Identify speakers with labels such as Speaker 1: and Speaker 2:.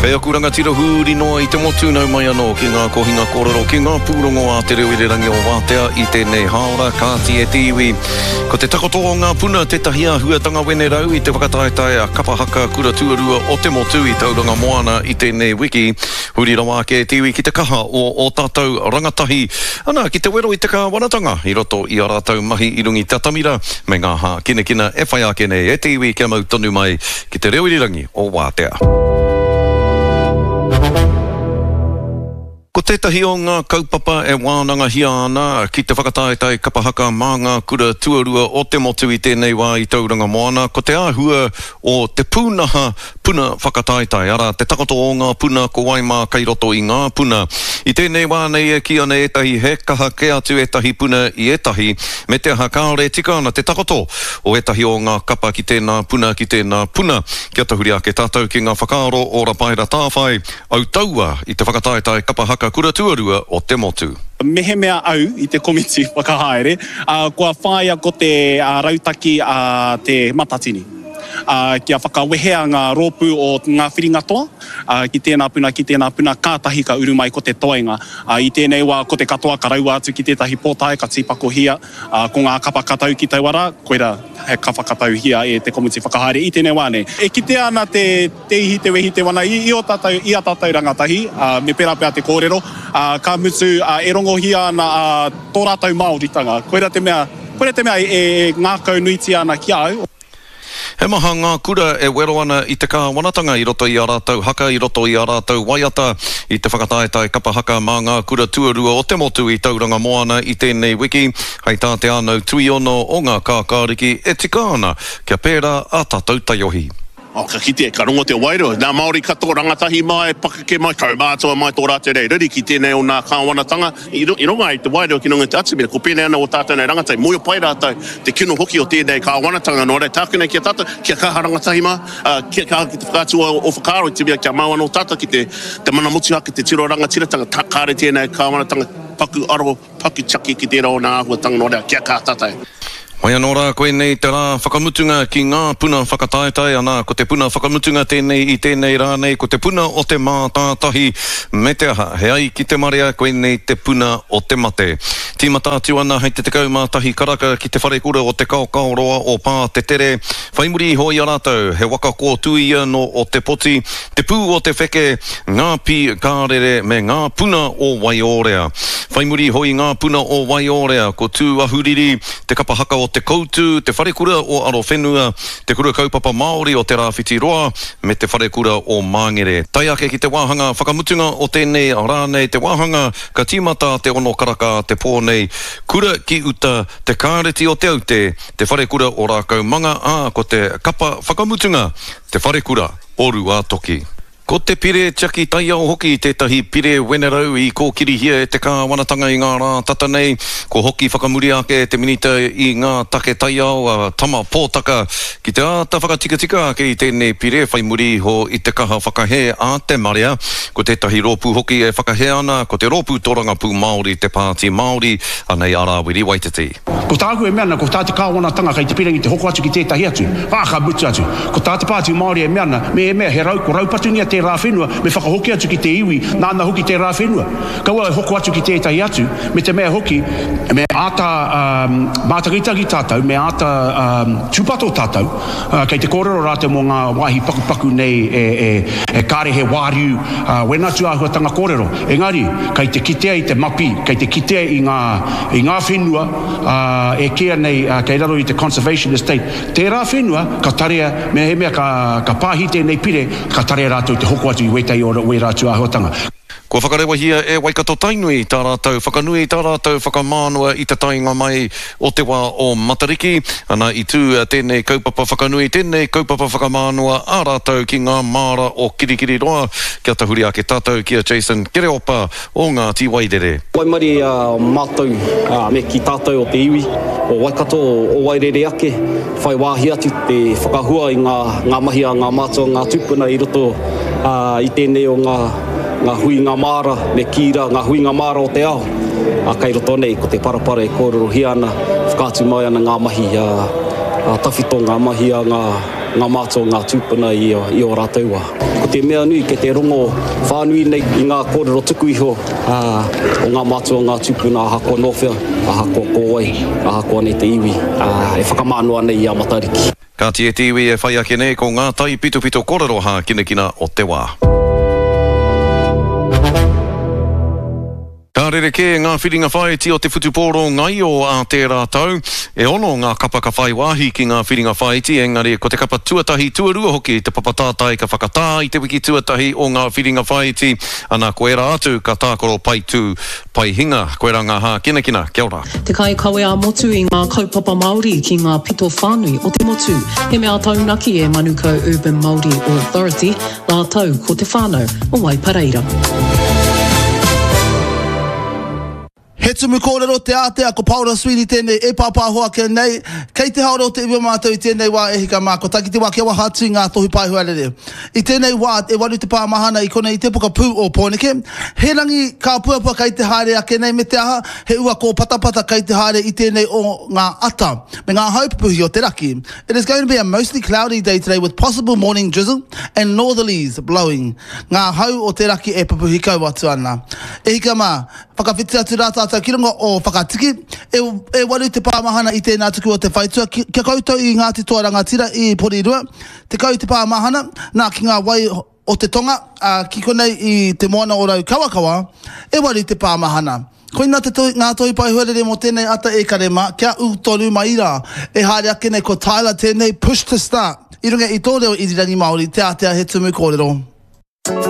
Speaker 1: Kei aku rangatira huri noa i te motu nau mai anō ki ngā kohinga kōrero ki ngā pūrongo a Te Reo Irirangi o Wātea i tēnei hāora, kāti e te iwi. Ko te takoto o ngā puna tētahi āhuatanga wenerau i te whakataetae a Kapa Haka Kura Tuarua o te Motu i Tauranga Moana i tēnei wiki. Huri rawa ake e te iwi ki te kaha o ō tātou rangatahi, ana, ki te wero i te kāwanatanga i roto i ā rātou mahi i runga i te atamira me ngā hākinakina e whai ake nei e te iwi kia mau tonu mai ki te reo irirangi o Wātea. Ko tētahi o ngā kaupapa e wānangahia ana ki te whakataetae kapa haka mā ngā kura tuarua o te motu i tēnei wā i Tauranga Moana ko te āhua o te pūnaha puna whakataetae, arā, te takoto o ngā puna ko wai mā kei roto i ngā puna. I tēnei wā nei e kī ana ētahi he kaha kē atu ētahi puna i ētahi, me te aha kāore e tika ana te takoto o ētahi o ngā kapa ki tēnā puna, ki tēnā puna. Kia tahuri ake tātou ki ngā whakaaro o Rapaera Tāwhai, autaua i te whakataetae kapa haka kura tuarua o te motu.
Speaker 2: Mehemea au i te komiti whakahaere, kua whāia ko te rautaki a Te Matatini, kia whakawehea ngā rōpū o ngā whiringa toa ki tēnā puna, ki tēnā puna, kātahi ka uru mai ko te toenga. I tēnei wā ko te katoa ka raua atu ki tētahi pōtae, ka tīpakohia, Ā, ko ngā kapa ka tau ki taua rā, koirā he ka whakatauhia e te komiti whakahaere i tēnei wā nei. E kitea ana te, te ihi, te wehi, te wana i, i ō tātou, i ā tātou rangatahi, ā, me pērā pea te kōrero, ā, ka mutu, ā, e rongohia ana, ā, tō rātou Māoritanga. Koirā te mea, koirā te mea e, e ngākaunuitia ana ki a au.
Speaker 1: He maha ngā kura e wero ana i te kāwanatanga i roto i ā rātou haka, i roto i ā rātou waiata, i te whakataetae kapa haka mā ngā kura tuarua o te motu i Tauranga Moana i tēnei wiki. Hei tā Te Ānau Tuiono o Ngā Kākāriki, e tika ana kia pērā ā tātou taiohi.
Speaker 3: Oh, ka kite, ka rongo te wairua. Nā Māori katoa, rangatahi mai, pakeke mai, kaumātua mai tō rātou nei riri ki tēnei o nā kāwanatanga. I runga i te wairua ki runga i te atamira, ko pēnei ana ō tātou nei rangatahi, mōhio pai rātou te kino hoki o tēnei kāwanatanga, nō reira tāku nei ki a tātou, kia kaha rangatahi mā, ā, kia kaha ki te whakaatu o ō whakaaro i te mea kia mau anō tātou ki te, te mana motuhake, te tiro rangatiratanga, kāre tēnei kāwanatanga paku aro, paku tiaki ki tērā o nā āhuatanga, nō reira kia kaha tātou.
Speaker 1: Whai anō rā, koinei te rā whakamutunga ki ngā puna whakataetae, anā, ko te puna whakamutunga tēnei i tēnei rā nei, ko te puna o te mātātahi, me te aha, he ai ki te marea, koinei te puna o te mate. Tīmata atu ana hei te 11 karaka ki te wharekura o Te Kaokaoroa o Pātetere, whai muri iho i a rātou, he waka kōtuia nō Ōtepoti, Te Pū o te Wheke, Ngā Pī Kārere me Ngā Puna o Waiōrea. Whai muri iho i Ngā Puna o Waiōrea, ko Tūahuriri, Te Kapa Haka o Te Koutu, Te Wharekura o Arowhenua, Te Kura Kaupapa Māori o Te Rāwhiti Roa, me Te Wharekura o Māngere. Tae ake ki te wāhanga whakamutunga o tēnei rā nei, te wāhanga ka tīmata a te ono karaka a te pō nei, Kura ki Uta, Te Kāreti o Te Aute, Te Wharekura o Rākaumanga, ā, ko te kapa whakamutunga, Te Wharekura o Rūātoki. Ko te Pire Tiaki Taiao hoki tētahi pire wenerau i kōkirihia e te kāwanatanga i ngā rā tata nei. Kua hoki whakamuri ake te Minita i ngā Take Taiao, a Tama Pōtaka, ki te āta whakatikatika ake i tēnei pire whai muri iho i te kaha whakahē a te marea. Ko tētahi rōpū hoki e whakahē ana, ko te Rōpū Torangapū Māori, te Pāti Māori, anei a Rāwiri Waititi.
Speaker 4: Ko tāku e mea ana, ko tā te kāwanatanga kei te pirangi te hoko atu ki tētahi atu, ā, ka mutu atu. Ko tā te Pāti Māori e mea ana, mehemea he rau, ko raupatungia tērā whenua, me whakahoki atu ki te iwi nāna hoki tērā whenua. Kaua e hoko atu ki tētahi atu, me te mea hoki, me āta mātakitaki tātou, me āta tūpato tātou, kei te kōrero rātou mō ngā wāhi pakupaku nei e kāre he wāriu, wēnā tūāhuatanga kōrero. Engari, kei te kitea i te mapi, kei te kitea i ngā, i ngā whenua, ā, e kīia nei, ā, kei raro i te Conservation Estate, tērā whenua ka tarea, mehemea ka, ka pāhi tēnei pire, ka tarea rātou te hoko atu i wētahi o wērā tūāhuatanga.
Speaker 1: Kua whakarewahia e Waikato-Tainui tā rātou whakanui, tā rātou whakamānawa i te taenga mai o te wā o Matariki. Ana, i tū tēnei kaupapa whakanui, tēnei kaupapa whakamānawa a rātou ki ngā māra o Kirikiriroa. Kia tahuri ake tātou ki a Jason Kereopa o Ngāti Wairere.
Speaker 5: Waimarie a mātou, me kī tātou o te iwi o Waikato, o Wairere ake, whai wāhi atu te whakahua i ngā mahi a ngā mātua, ngā tūpuna i roto i tēnei o ngā huinga māra, me kī rā, ngā huinga māra o te ao, kei roto nei ko te parapara e kōrerohia ana, whakaatu mai ana ngā mahi a tawhito, ngā mahi a ngā. ngā mātua, ngā tūpuna i ō rātou wā. Ko te mea nui kei te rongo whānui nei i ngā kōrero tuku iho o ngā mātua, ngā tūpuna ahakoa nō whea, ahakoa ko wai, ahakoa nei te iwi e whakamānoa nei i a Matariki.
Speaker 1: Kāti e te iwi e whai ake nei ko ngā taipitopito korero hākinakina o te wā. Ka rerekē ngā whiringa whāiti o te whutupōro ngaio ā tērā tau. E ono ngā kapa ka whai wāhi ki ngā whiringa whāiti, engari ko te kapa tuatahi, tuarua hoki te papa tātai ka whakatā i te wiki tuatahi o ngā whiringa whāiti, ana ko ērā atu ka tākaro pai tū, pai hinga. Koirā ngā hākinakina. Kia ora.
Speaker 6: Te kaikawe ā-motu i ngā kaupapa Māori ki ngā pito whānui o te motu. He mea taunaki e Manukau Urban Māori Authority, rātou ko te whānau o Waipareira.
Speaker 7: He tumu kōrero te ātea, ko Paora Sweeney tēnei e pāpāho ake nei. Kei te haora o te iwi o mātou i tēnei wā e hika mā, kua tae ki te wā kia waha atu i ngā tohu pae huarere. I tēnei wā, e waru te pā mahana i konei i te pokapū o Pōneke. He rangi kāpuapua kei te haere ake nei me te aha, he ua kōpatapata kei te haere i tēnei o ngā ata, me ngā hau pupuhi o te raki. It is going to be a mostly cloudy day today with possible morning drizzle and northerlies blowing. Ngā hau o te raki e pupuhi kau atu ana. E hika mā, whakawhiti atu rā tātou ki runga o Whakatiki. E, e waru te pāmahana i tēnā tuku o te whaitua ki, kia koutou i Ngāti Toa Rangatira i Porirua. 10 te pāmahana, nā ki ngā wai o te tonga, ā, ki konei i te moana o Raukawakawa, e waru te pāmahana. Koina te toi, ngā toi pae huarere mō tēnei ata e kare mā, kia ū tonu mai rā. E haere ake nei ko Tyler tēnei push to start i runga i tō reo irirangi Māori, te ātea he tumu kōrero.